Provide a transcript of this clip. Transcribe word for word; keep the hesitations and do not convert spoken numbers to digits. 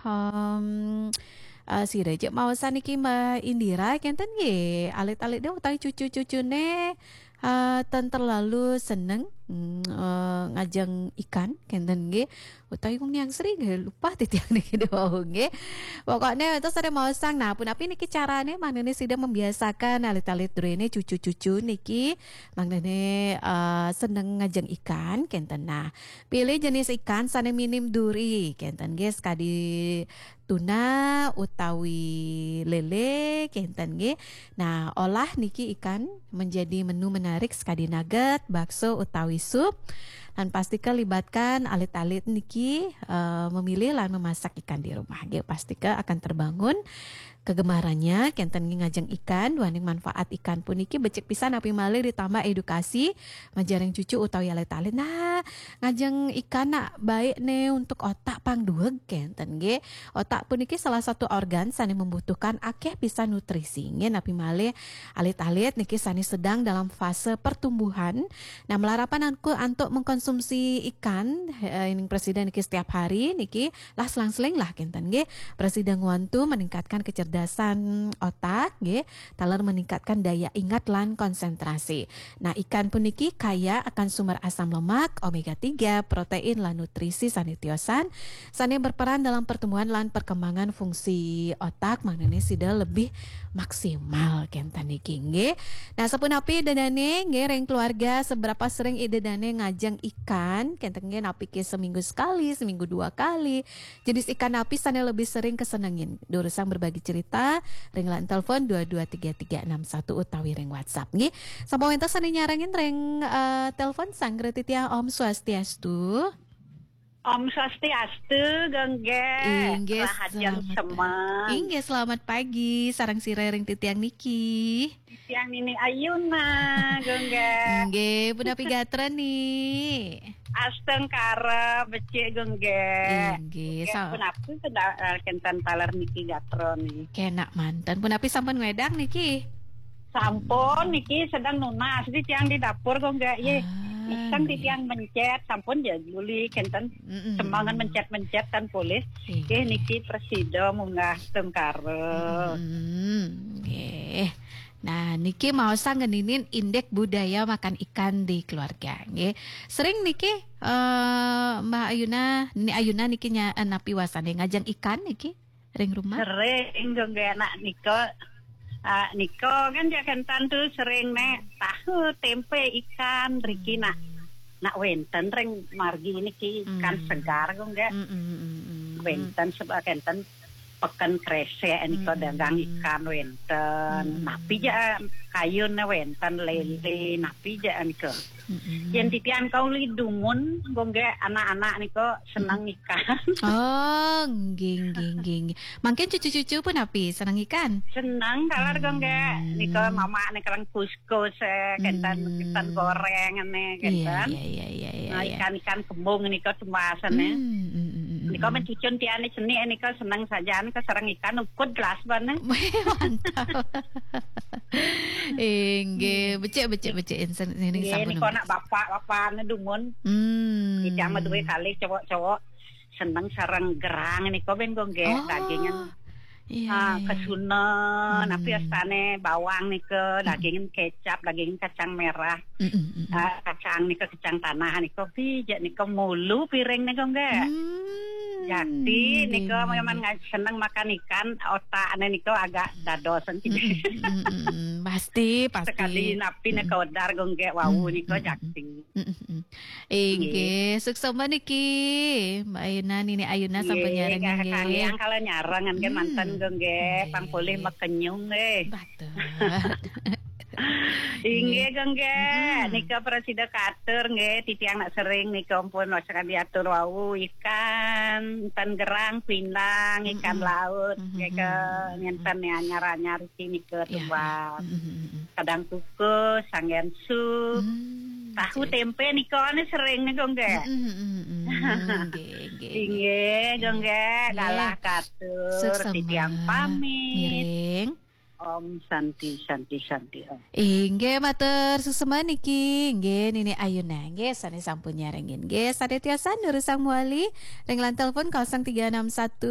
Em, eh, sira ja maosan niki Mbak Indira, kenten nggih. Alit-alitne utawi cucu-cucune, eh, ten terlalu seneng, mm, eh, ngajeng ikan, kenten nggih. Utawi wong yang sering nggih, lupa titiang niki wau nggih. Pokoknya itu sering maosan. Nah, punapi niki carane, manene sida membiasakan alit-alit durene cucu-cucu niki, manene, eh, seneng ngajeng ikan, kenten. Nah, pilih jenis ikan sane minim duri, kenten nggih, sekadi tuna utawi lele, kenten nggih. Nah, olah niki ikan menjadi menu menarik sekadi nugget, bakso utawi sup. Lan pastika libatkan alit-alit niki, eh, memilih lan memasak ikan di rumah. Nggih, pastika akan terbangun kegemarannya, kenten nggih, ngajeng ikan, duaning manfaat ikan puniki becik pisan, napi malih ditambah edukasi majaring cucu utawi alit-alit. Nah, ngajeng ikan nak baik ne untuk otak pang dueg, kenten nggih. Otak puniki salah satu organ sane membutuhkan akeh pisan nutrisi. Nggih, napi malih alit-alit niki sane sedang dalam fase pertumbuhan. Nah, malarapan anku antuk mengkonsumsi ikan, eh, ining presiden niki setiap hari niki, lah selang-seling lah, kenten nggih. Presiden ngwantu meningkatkan kecerdasan otak nggih, taler meningkatkan daya ingat lan konsentrasi. Nah, ikan puniki kaya akan sumber asam lemak, omega tiga, protein lan nutrisi sane tiosan, sane berperan dalam pertumbuhan lan perkembangan fungsi otak, manene sida lebih maksimal, kenten niki nggih. Nah, sapunapi ida dane nggih, ring keluarga, seberapa sering ida dane ngajeng ikan, kenten nggih, napi ke seminggu sekali, seminggu dua kali, jenis ikan napi sane lebih sering kesenengin? Durusang berbagi cerita, ring line telepon dua dua tiga tiga enam satu utawi ring WhatsApp nggih. Sampun wenten sane nyarengin ring, eh, telepon, sanggra titiang, Om Swastiastu. Om Swastiastu, Gongge. Inggih, rahajeng selamat semeng. Inggih, selamat pagi. Sareng sira ring titiang niki? Titiang Nini Ayuna, Gongge. Inggih, punapi gatra ni? Astungkara becik, Gongge. Inggih, Gongge, sa- punapi sedang, eh, kenten taler niki gatra ni? Kenak manten. Punapi sampun ngwedang niki? Sampun niki sedang nunas di tiang di dapur, Gongge. Ye, ah, iseng di tiang mencet, sampun ya juli kenten. Mm-mm. Sembangan mencet-mencet kan boleh. Iya. Nggih, niki presida munggah tengkara. Mm-mm. Nggih. Nah, niki maosan ngeninin indek budaya makan ikan di keluarga, nggih. Sering niki, eh, Mbak Ayuna, Nini Ayuna niki nya-, eh, napi wasane ngajeng ikan niki ring rumah? Sering, Gongge, nak nika. Ah, nika kan ya kenten tu sering ne tahu tempe ikan riki nak. Hmm. Nak wenten ring margi niki ikan, hmm, segar, Gongge. Hmm, hmm, hmm, hmm. Wenten sebab kenten peken kresek nika, hmm, dagang ikan wenten. Hmm. Napi ja kayun wenten, lele, hmm, napi ja nika. Mm-mm. Yen titiang kauli dumun, Gongge, anak-anak nika seneng ikan. Oh, nggih, nggih, nggih, nggih. Mangkin cucu-cucu punapi seneng ikan? Seneng, taler, Gongge. Hmm. Nika mama nika reng kuskus, eh, kenten, hmm, kenten goreng, ane, iya, kenten. Iya, iya, iya, iya, nah, iya. Ikan-ikan kembung nika tumbasane. Hmm, hmm, hmm, hmm, nika, hmm, men cucun tiane cenik nika seneng saja, nika sareng ikan ukud gelas bane. Mantap. Inggih, becik, becik, becik. Insen-, ini, nggih, sampun, nika anak bapak-bapak ne dumun. Hmm. Titiang mah duwe kalih cowok-cowok seneng sareng gerang nika ben, Gongge, oh, dagingan. Iya, ah, iya, iya. Kesunen, hmm, napi astane bawang nika, hmm, dagingan kecap, dagingan kacang merah. Mm, mm, mm, mm. Ah, kacang nika, kacang tanah nika, pijak nika mulu piring nika, Gongge. Hmm, jakti nika, nggih, memang nggih, nga-, seneng makan ikan, otakne nika agak dadosan. Mm, mm, mm, mm, mm. Pasti, pasti. Sekali napi nika, mm, odar, Gongge, wau, mm, nika, mm, mm, jakti. Mm, mm, mm. Inggih, nggih, suksma niki, Mbak Ayuna, Nini Ayuna, nggih, sampun nyarengin, nggih, nggih. Kalian kalau nyareng kan, hmm, manten, Gongge, nggih, pang polih makenyung, nggih. Betul. Inggih, nggih, Gongge. Mm-mm. Nika prasida katur, nggih, titiang nak sering nika ampun wasakadi atur wau, ikan, ten gerang, pindang, ikan, mm-mm, laut, mm-mm, nika, mm-mm, ngenten ya, anyar-anyar iki nika, ya, tumbas. Ya. Mm-mm, mm-mm. Kadang kukus, sanggen sup. Hmm, tahu, oke, tempe nika ane sering nika, nggih. Mm-mm, mm-mm, mm-mm. Nggih, nggih, nggih. Inggih, nggih, nggih. Galah katur, suksma, titiang pamit. Ngiring. Om Santi, Santi, Santi, Om. Inggih, matur suksma niki. Nggih, Nini Ayuna. Nggih, sane sampun nyarengin. Nggih, sane tiosan durusang mawali ring line telepon kosong tiga enam satu